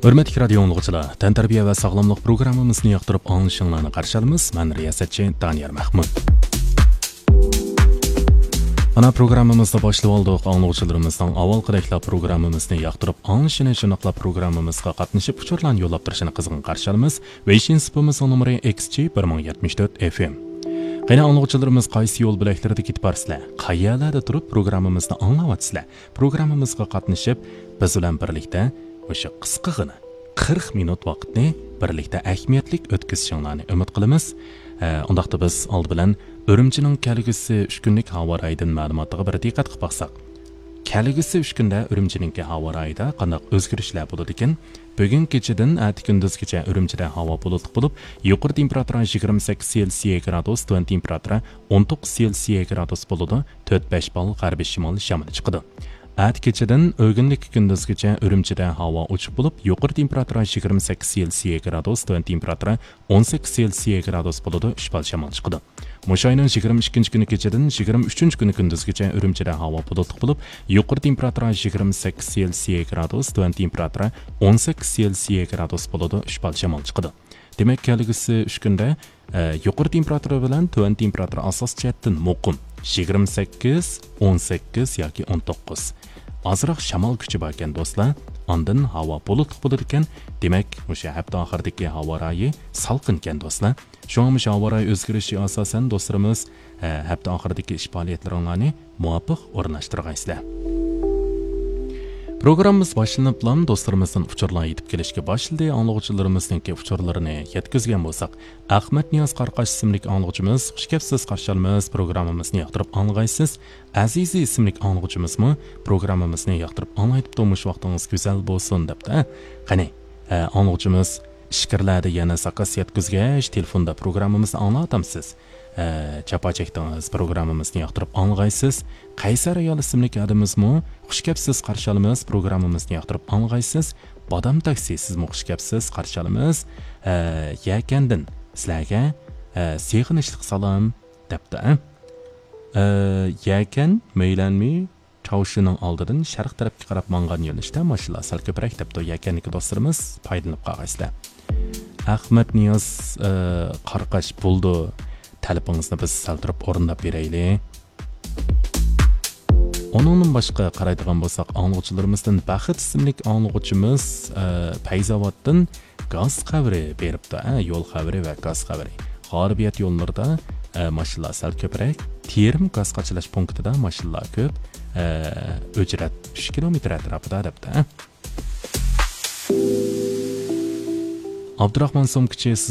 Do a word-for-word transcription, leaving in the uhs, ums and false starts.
ھۆرمەتلىك رادىيو ئاڭلىغۇچىلار، تەنتەربىيە ۋە ساغلاملىق پروگراممىمىزنى ياقتۇرۇپ ئاڭلىشىڭلارنى قارشى ئالىمىز. مەن رىياسەتچى دانىيار مەھمۇت. مانا پروگراممىمىزنى باشلىۋالدۇق. ئاڭلىغۇچىلىرىمىزنىڭ ئاۋۋالقىدەكلا پروگراممىمىزنى ياقتۇرۇپ ئاڭلىشىنى، شۇنداقلا پروگراممىمىزغا قاتنىشىپ ئۇچۇرلارنى يوللاپ تۇرۇشىنى قىزغىن قارشى ئالىمىز. ۋېيشىن سۇپىمىزنىڭ نومۇرى ئىكس جى بىر مىڭ يەتمىش تۆت ئېف ئېم. قېنى ئاڭلىغۇچىلىرىمىز قايسى يول بۆلەكلىرىدە كېتىپ بارسىلەر؟ قەيەرلەردە تۇرۇپ پروگراممىمىزنى ئاڭلاۋاتىسىلەر؟ پروگراممىمىزغا قاتنىشىپ، بىز بىلەن بىرلىكتە مۇشۇ قىسقىغىنە قىرىق مىنۇت ۋاقىتنى بىرلىكتە ئەھمىيەتلىك ئۆتكۈزۈشۈڭلارنى ئۈمىد قىلىمىز. ئە، ئۇنداقتا بىز ئالدى بىلەن ئۈرۈمچىنىڭ كەلگۈسى ئۈچ كۈنلۈك ھاۋا رايىدىن مەلۇماتىغا بىر دىققەت قىلىپ باقساق. كەلگۈسى ئۈچ كۈندە ئۈرۈمچىنىڭكى ھاۋا رايىدا قانداق ئۆزگىرىشلەر بولىدىكەن؟ بۈگۈن كېچىدىن ئەتە كۈندۈزگىچە ئۈرۈمچىدە ھاۋا بۇلۇتلۇق بولۇپ، يۇقىرى تېمپېراتۇرا يىگىرمە سەككىز سېلسىيە گرادۇس، تۆۋەن تېمپېراتۇرا ئون توققۇز سېلسىيە گرادۇس بولىدۇ، تۆت بەش بال غەربىي شىمال شامىلى چىقىدۇ. ئەتە كېچىدىن ئۆگۈنلۈككە كۈندۈزگىچە ئۈرۈمچىدە ھاۋا ئوچۇق بولۇپ، يۇقىرى تېمپېراتۇرا يىگىرمە سەككىز سېلسىيە گرادۇس، تۆۋەن تېمپېراتۇرا ئون سەككىز سېلسىيە گرادۇس بولىدۇ، ئۈچ بال شامال چىقىدۇ. مۇشۇ ئاينىڭ يىگىرمە ئىككىنچى كۈنى كېچىدىن يىگىرمە ئۈچىنچى كۈنى كۈندۈزگىچە ئۈرۈمچىدە ھاۋا بۇلۇتلۇق بولۇپ، يۇقىرى تېمپېراتۇرا يىگىرمە سەككىز سېلسىيە گرادۇس، تۆۋەن تېمپېراتۇرا ئون سەككىز سېلسىيە گرادۇس بولىدۇ، ئۈچ بال شامال چىقىدۇ. دېمەك، كەلگۈسى ئۈچ كۈندە، ئە، يۇقىرى تېمپېراتۇرا بىلەن تۆۋەن تېمپېراتۇرا ئاساسىي جەھەتتىن مۇقىم، يىگىرمە سەككىز، ئون سەككىز ياكى ئون توققۇز. ئازراق شامال كۈچى باركەن، دوستلار. ئاندىن ھاۋا بۇلۇتلۇق بولىدىكەن. دېمەك، مۇشۇ ھەپتە ئاخىرىدىكى ھاۋا رايى سالقىنكەن، دوستلار. شۇڭا مۇشۇ ھاۋا رايى ئۆزگىرىشى ئاساسەن، دوستلىرىمىز، ئە، ھەپتە ئاخىرىدىكى ئىش پائالىيەتلىرىڭلارنى مۇۋاپىق ئورۇنلاشتۇرغايسىلەر. پروگراممىمىز باشلىنىپلا دوستلىرىمىزدىن ئۇچۇرلار يېتىپ كېلىشكە باشلىدى. ئاڭلىغۇچىلىرىمىزنىڭكى ئۇچۇرلىرىنى يەتكۈزگەن بولساق، ئەخمەت نىياز قاراقاش ئىسىملىك ئاڭلىغۇچىمىز، «خۇش كەپسىز، قارشى ئالىمىز، پروگراممىمىزنى ياقتۇرۇپ ئاڭلىغايسىز.» ئەزىزى ئىسىملىك ئاڭلىغۇچىمىزمۇ، «پروگراممىمىزنى ياقتۇرۇپ ئاڭلايدۇ، تۇرمۇش ۋاقتىڭىز گۈزەل بولسۇن» دەپتۇ. قېنى، ئە، ئاڭلىغۇچىمىز ئىچكىرىلەردە يەنە زاكاز يەتكۈزگەچ، تېلېفوندا پروگراممىمىزنى ئاڭلاۋاتامسىز؟ ئە، جاپا چەكتىڭىز، پروگراممىمىزنى ياقتۇرۇپ ئاڭلىغايسىز. قەيسەر ئايال ئىسىملىك ئادىمىمىزمۇ، «خۇش كەپسىز، قارشى ئالىمىز، پروگراممىمىزنى ياقتۇرۇپ ئاڭلىغايسىز.» بادام تاكسى، سىزمۇ خۇش كەپسىز، قارشى ئالىمىز. ئە، يەكەندىن سىلەرگە، ئە، سېغىنىشلىق سالام دەپتۇ. ئە، يەكەن مەيلەنمى چاۋشىنىڭ ئالدىدىن شەرق تەرەپكە قاراپ ماڭغان يۆنىلىشتە ماشىنىلار سەل كۆپرەك دەپتۇ. يەكەندىكى دوستلىرىمىز پايدىلىنىپ قالغايسىلەر. ئەخمەت نىياز، ئە، قارقاش بولدى. تەلىپىڭىزنى بىز سەل تۇرۇپ ئورۇنداپ بېرەيلى. ئۇنىڭدىن باشقا قارايدىغان بولساق، ئاڭلىغۇچىلىرىمىزدىن بەخت ئىسىملىك ئاڭلىغۇچىمىز، ئە، پەيزاۋاتتىن گاز خەۋىرى بېرىپتۇ، ھە، يول خەۋىرى ۋە گاز خەۋىرى. غالىبىيەت يوللىرىدا، ئە، ماشىنىلار سەل كۆپرەك. تېرىم گاز قاچىلاش پونكىتىدا ماشىنىلار كۆپ. ئە، ئۆجرەت ئۈچ كىلومېتىر ئەتراپىدا دەپتۇ، ھە. ئابدۇراخمان سومكىچى، سىز